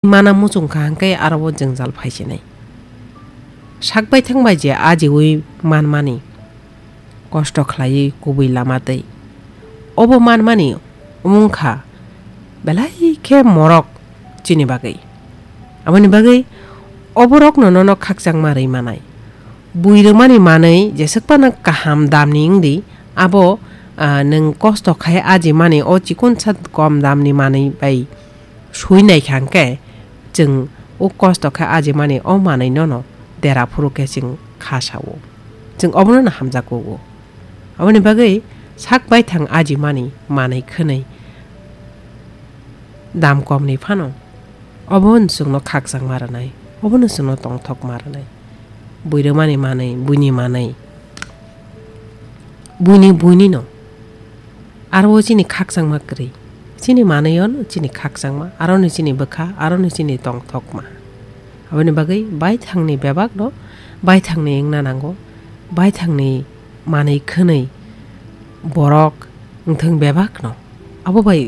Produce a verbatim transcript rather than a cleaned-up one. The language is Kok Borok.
mana muchung kha hwnkhe aro o jwngjal phai sinai. Sak baithang bai je ajiui manmani, kosto khlaiwi kubui lama twi. Obo manmani wngkha belai khe morok chini bagwi. Aboni bagwi oborokno nono khakchangma rwi manai. Bui rwmani manwi jeswk phano kaham damni wngdi, abo, ah, nwng kosto khai ajimani o chikonsa kom damni manwi bai sui naikha hwnkhe, chwng o kosto khe ajimani o manwi nono dera phuru khe chwng kha sao. Chwng obono no hamjak kugo. Aboni bagwi sak baithang ajimani manwi khwnwi dam komni phano obono chwngno khakchangma rwnai, obono chwngno tongthokma rwnai. Bui rwmani manwi, buini manwi, buini, buini no. Aro o chini khakchangma kwrwi. Chini manwi o no chini khakchangma, aro ni chini bwkha, aro ni chini tongthokma. Aboni bagwi baithangni bebak no baithangni wngna nango, baithangni manwi khwnwi borok wngthwng bebak no. Abo bai